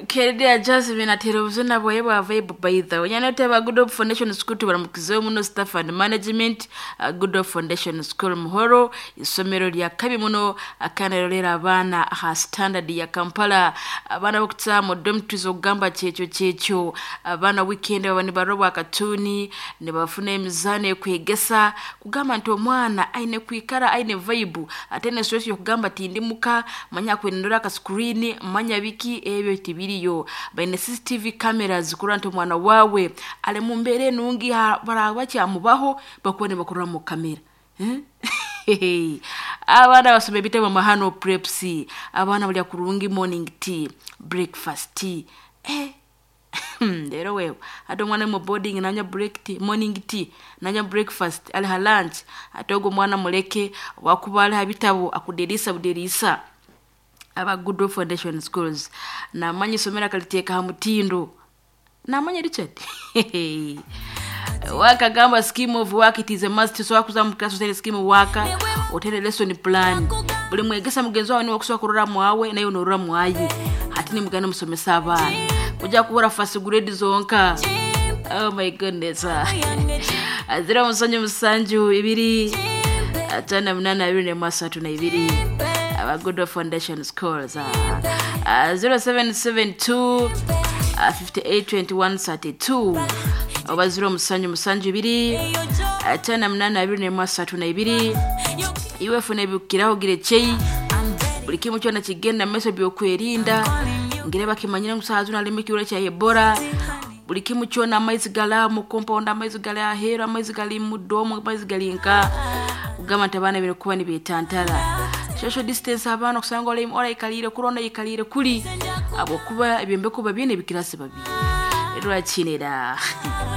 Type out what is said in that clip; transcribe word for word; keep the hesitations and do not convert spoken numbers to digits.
Keredia Jasmine atera obuzina bwaye bwa vibe. By the way, nyana teba Good Hope Foundation School, tubaramukizeho muno staff and management, uh, Good Hope Foundation School Muhoro, isomero lya kabi muno akanarolera abaana aha standard ya Kampala, abaana bokutsa mu dormitories, okugamba kyekyo kyekyo abaana weekend baba nibarobwa akatuni, nibafuna emizaano ekwegesa kugamba nti omwana aine kwikara aine vibe, ate ne stress yokugamba tindi muka manya kwenendora aka screen manya biki ebyo tibiriyo. Baine C C T V cameras kurora nti omwana wawe ali mu mbeera enungi, ha- baraba bakyamubaho bakuba nibakurora mu kamera. Eh? Abaana basoma ebitabo mahano preps, abaana balya kurungi, morning tea, breakfast tea, eh. Rero wewe ate omwana mu boarding nanywa break tea, morning tea, nanywa breakfast, ali ha lunch, ate ogwo omwana muleke wakuba ali ha bitabo akudirisa budirisa. Aba Good Hope Foundation Schools, namanya isomero akaliteeka ha mutindo, namanya Richard wakagamba scheme of work, it is a must. So wakuza mu class otere scheme of work, otere lesson plan, buli mwegesa mugenzi wawe niwe kusobola kurora mwawe naye onorora mwaye, hati nimugenda musomesa abaana kujja kubura first grade zonka. Oh my goodness. Azira musanju musanju ibiri atano munana abiri nemu asatu na ibiri, aba Good Hope Foundation Schools. uh, zero seven seven two uh, fifty-eight twenty-one thirty-two oba zero musanju musanju ibiri atano munana abiri nemu asatu na ibiri. Iwe funa ebikiraho gira ekyei, buli kimu kyona kigenda mu maiso, byokwerinda ngire bakimanyire ngu saha zino alimu ekirwaire kya Ebola. Buli kimu kyona, amaizi gali mu compound, amaizi gali aheeru, amaizi gali mu dorm, amaizi gali nka kugamba nti abaana bine kuba nibetantara social distance, abaana okusanga ora oraikalire kuri ona yikalire kuri, habwokuba ebyombeko babiine ebikirasi babiri rwakinira.